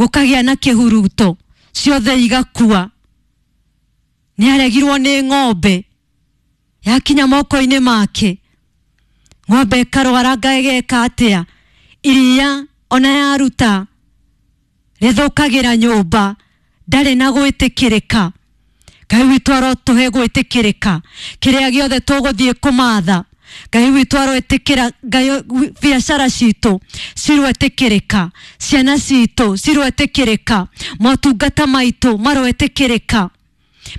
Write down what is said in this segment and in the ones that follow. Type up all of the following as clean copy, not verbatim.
Gũkagĩa na kĩhuruto, ciothe igakua. Nĩ aregirwo nĩ ng'ombe, yakinya moko-inĩ make, ng'ombe ĩkarwara ĩgeka atĩa? Iria ona yaruta rĩthũkagĩra nyũmba, ndarĩ na gwĩtĩkĩrĩka. Ngai witũ arotũhe gwĩtĩkĩrĩka kĩrĩa gĩothe tũgũthiĩ kũmatha. Ngai witũ aroĩtĩkĩra, Ngai biacara citũ ciroĩtĩkĩrĩka, ciana citũ ciroĩtĩkĩrĩka, motungata maitũ maroĩtĩkĩrĩka,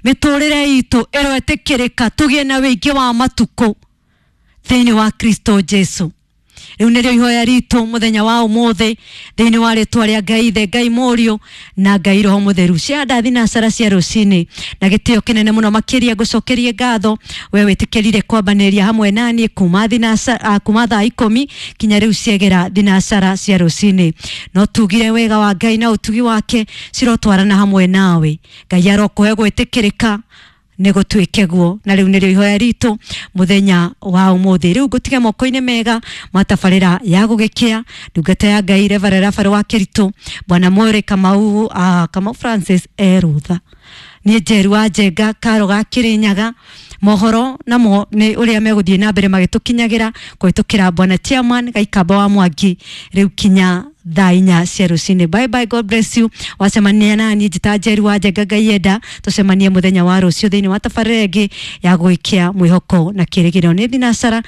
mĩtũrĩre itũ ĩroĩtĩkĩrĩka, tũgĩe na wĩingĩ wa matukũ thĩinĩ wa Kristo Jesu. Rĩu nĩrĩo ihoya ritũ mũthenya wa ũmũthĩ thĩinĩ wa rĩtwa rĩa Ngai Ithe, Ngai Mũriũ na Ngai Roho Mũtheru. Cia ndathi na cara cia rũcinĩ na gĩtĩo kĩnene mũno makĩria ngũcokerie ngatho we wĩtĩkĩrire kwambanĩria hamwe naniĩ kuma thinacara, kuma thaa 10 kinya rĩu ciegera thinacara cia rũcinĩ. No tugire wega wa Ngai na ũtugi wake cirotwarana hamwe nawe. Ngai arokũhe gwĩtĩkĩrĩka nĩ gũtuĩke guo. Na rĩu nĩrĩo ihoya ritũ mũthenya wa ũmũthĩ. Rĩu ngũtige moko-inĩ mega ma tabarĩra ya gũgĩkĩa ndungata ya Ngai Reverend Rafael wa Kĩritũ, Bwana Mwere Kamau, Kamau Francis erutha. Niĩ Njeru wa Njenga Karo ga Kĩrĩnyaga. Mohoro namo nĩ ũrĩa megũthiĩ na mbere magĩtũkinyagĩra kũhĩtũkĩra Bwana Chairman Gaikamba wa Mwangi rĩu kinya thaa 4 cia rũcinĩ. Bye bye, God bless you. Wacemania na niĩ njĩta Njeru wa Njenga, Ngai enda tũcemanie mũthenya wa rũciũ thĩinĩ wa tabarĩra ĩngĩ ya gwĩkia mwĩhoko na kĩrĩgĩrĩro. Nĩ thinacara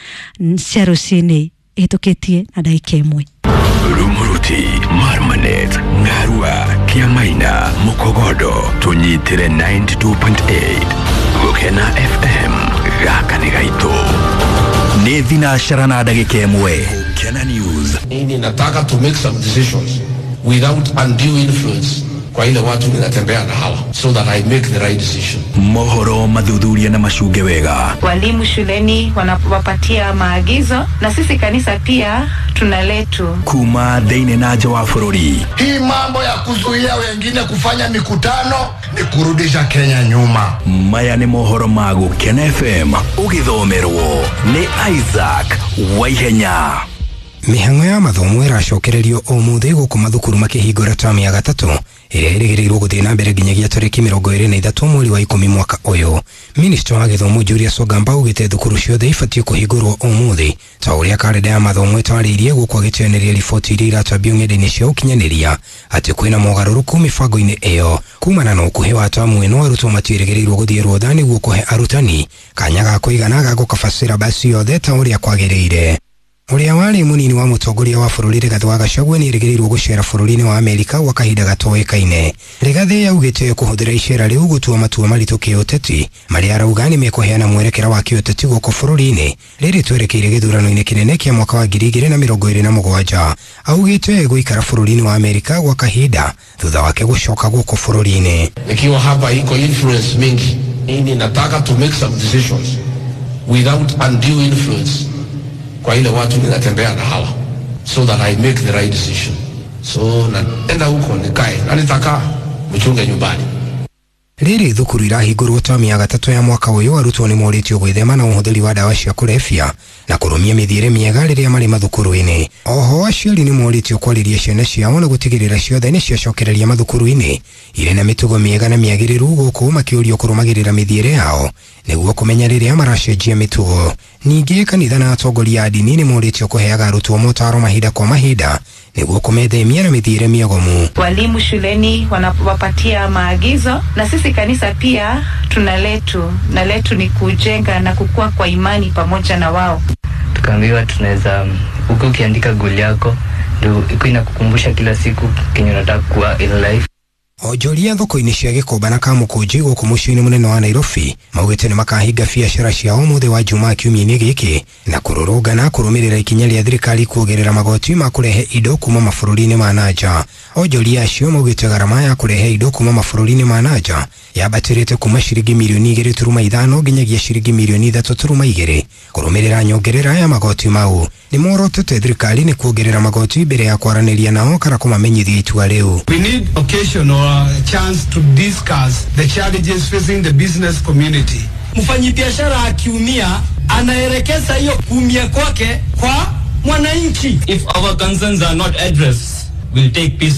cia rũcinĩ ĩhĩtũkĩtie na ndagĩka 1. Rumuruti, Marmanet, Ngarua, Kiamaina, Mukogodo, tunyitire 92.8. Gukena FM, gaka nĩ gaitũ. Nĩ thinacara na ndagĩka 1. Gukena News. Mimi nataka to make some decisions without undue influence kwa ile watu ninatembea na hawa, so that I make the right decision. Mohoro mathuthuria na macunge wega. Walimu shuleni wanawapatia maagizo, na sisi kanisa pia tuna letu. Kuma thĩinĩ na nja wa bũrũri. Hii mambo ya kuzuia wengine kufanya mikutano ni kurudisha Kenya nyuma. Maya nĩ mohoro ma Gukena FM ũgĩthomerwo nĩ Isaac Waihenya. Mĩhang'o ya mathomo ĩracokererio ũmũthĩ gũkũ mathukuru makĩhingũra tamu ya gatatũ ĩrĩa ĩrĩgĩrĩirwo gũthiĩ na mbere nginyagia tarĩki 23 mweri wa 10 mwaka ũyũ. Minista wa gĩthomo Julius Ogamba augĩte thukuru ciothe ibatiĩ kũhingũrwo ũmũthĩ ta ũrĩa karenda ya mathomo ĩtarĩirie, gũkũ agĩteanĩria riboti iria iratambio ng'enda-inĩ cia ũkinyanĩria atĩ kwĩna mogarũrũku mĩbango-inĩ ĩyo. Kumana na ũkuhĩ wa tamu ĩno, arutwo matiĩrĩgĩrĩirwo gũthiĩ rũtha nĩguo kũhe arutani kanya ga kũigana ga gũkaba syllabus yothe ta ũrĩa kwagĩrĩire. Ũrĩa warĩ mũnini wa mũtongoria wa bũrũri Rigathĩ wa Gachagua nĩerĩgĩrĩirwo gũcera bũrũri-inĩ wa Amerika gwa kahinda gatoĩkaine. Rigathĩ yaugĩte kũhũthĩra icera rĩu gũtua matua maritũ kĩũteti marĩa arauga nĩ mekũheana mwerekera wa kĩũteti gũkũ bũrũri-inĩ rĩrĩ twerekeire gĩthurano-inĩ kĩnene kĩa mwaka wa 2027. Augĩte gũikara bũrũri-inĩ wa Amerika gwa kahinda thutha wake gũcoka gũkũ bũrũri-inĩ. Nikiwa hapa iko influence mingi. Mimi nataka to make some decisions without undue influence kwa ile watu ninatembea na hawa, so that I make the right decision. So naenda huko nikae na nitakaa mchunge nyumbani. Rĩrĩ thukuru irahingũrwo tamu ya gatatũ ya mwaka ũyũ, arutwo nĩ morĩtio gwĩthema na ũhũthĩri wa ndawa cia kũrebia na kũrũmia mĩthiĩre mĩega rĩrĩa marĩ mathukuru-inĩ. Oho aciari nĩ morĩtio kwarĩria ciana ciao na gũtigĩrĩra ciothe nĩ ciacokereria mathukuru-inĩ irĩ na mĩtugo mĩega na mĩagĩrĩru, gũkũ makĩũrio kũrũmagĩrĩra mĩthiĩre yao nĩguo kũmenya rĩrĩa maracenjia mĩtugo. Ningĩ kanitha na atongoria a ndini nĩ morĩtio kũheaga arutwo motaro mahinda kwa mahinda nĩguo kũmethemia na mĩthiĩre mĩogomu. Walimu shuleni wanawapatia maagizo, na sisi kanisa pia tuna letu, na letu ni kujenga na kukua kwa imani pamoja na wao. Tukaambiwa tunaweza uko ukiandika goal yako ndio iko inakukumbusha kila siku kenye unataka kuwa in life. Onjoria thoko-inĩ cia Gĩkomba na Kamũkũnji gũkũ mũciĩ-inĩ mũnene wa Nairobi maugĩte nĩ makahinga biacara ciao ũmũthĩ wa Jumaa kiumia-inĩ gĩkĩ na kũrũrũngana kũrũmĩrĩra ikinya rĩa thirikari kuongerera magoti ma kũrehe indo kuma mabũrũri-inĩ ma nanja. Onjoria acio maugĩte garama ya kũrehe indo kuma mabũrũri-inĩ ma nanja yambatĩrĩte kuma ciringi mirioni 2.5 nginyagia ciringi mirioni 3.2 kũrũmĩrĩra nyongerera ya magoti mau. Nĩ morotete thirikari nĩ kuongerera magoti mbere ya kwaranĩria nao kana kũmamenyithia itua rĩu. We need occasion or a chance to discuss the challenges facing the business community. Mfanyibiashara akiumia anaelekeza hiyo kuumia kwake kwa mwananchi. If our concerns are not addressed, we'll take peaceful